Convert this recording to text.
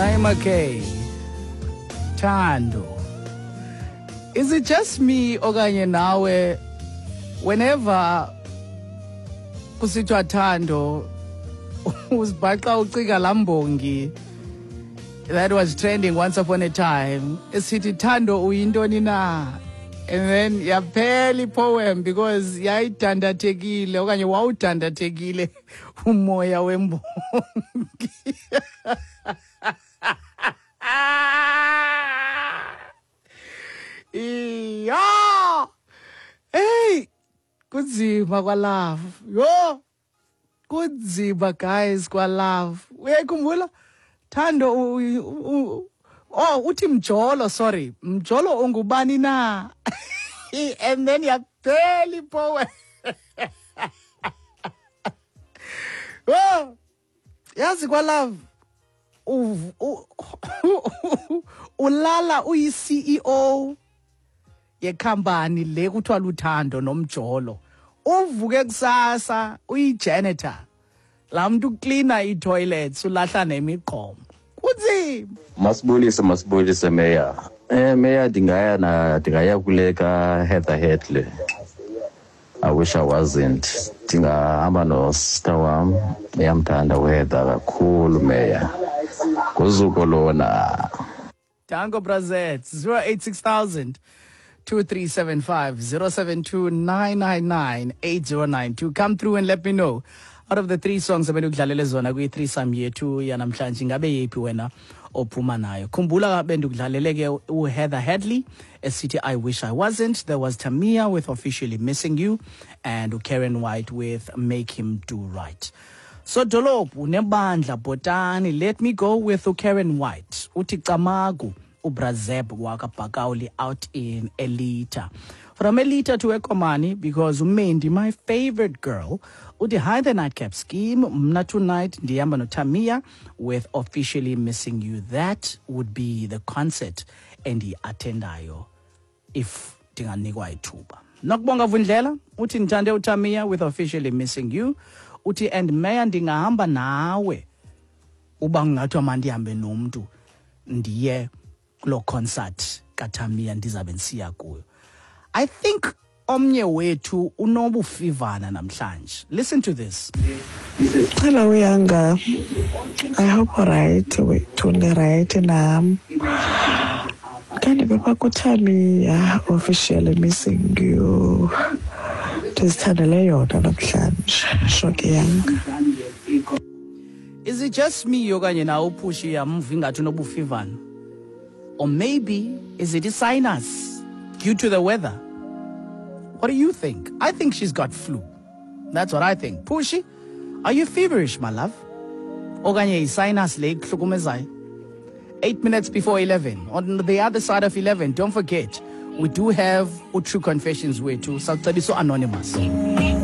Naima K. Thando. Is it just me okanye nawe whenever kusithiwa Thando uzibhaqa ucinga laa mbongi that was trending once upon a time esithi Thando uyintoni na, and then yaphela ipoem because yayidandathekile okanye wawudandathekile umoya wembongi. Iya, hey, kunzima kwalove. Yho, kunzima guys kwalove. Uyayikhumbula Thando oh, uthi mjolo, sorry, mjolo ungubani na, and then yaphela ipoem. Oh, yazi kwalove ulala uyi-CEO yekhampani le kuthiwa luthando nomjolo, uvuke kusasa uyi-janitor, laa mntu uklina ii-toilets, ulahla nemigqomo. Kunzima. Masibulise, masibulise meya. Meya, ndingaya na ndingaya kule ka Heather Headley. "I Wish I Wasn't." Ndingahamba nosister wam, uyamthanda uHeather kakhulu meya. Nguzuko lona. Danko Brazet, 086 2375 072 999 8092. Come through and let me know. Out of the three songs ebendikudlalele zona kwi-threesome yethu yanamhlanje, ingabe yeyiphi wena ophuma nayo? Khumbula bendikudlalele ke uHeather Headley esithi "I Wish I Wasn't." There was Tamia with "Officially Missing You" and uKaren White with "Make Him Do Right." Sodolophu nebandla bhotani, let me go with uKaren White. Uthi camagu uBrazeb wakabhakawuli out in Elita. From Elita to Ekomani, because uMendi, my favorite girl, uthi hi, the Nightcap Scheme. Mna tonight ndihamba noTamia with "Officially Missing You." That would be the concert endiyi-attendayo if ndinganikwa ithuba. Nokubonga Vundlela uthi ndithande uTamia with "Officially Missing You." Uthi and meya ndingahamba nawe uba kungathiwa mandihambe nomntu ndiye kuloo concert kaTamia ndizabe ndisiya kuyo. I think omnye wethu unobufivana namhlanje. Listen to this. Hello Yanga. I hope alright, wethu right nam. Kanti bepha kuTamia, "Officially Missing You." Ndizithandele yona namhlanje. Shoke Yanga. Is it just me okanye nawe uphushi yamva ingathi unobufivana? Or maybe is it a sinus due to the weather? What do you think? I think she's got flu. That's what I think. Pushy, are you feverish, my love? Okanye i-sinus le ikuhlukumezayo? 8 minutes before 11. On the other side of 11, don't forget, we do have True Confessions wethu. Sawucebisa anonymous.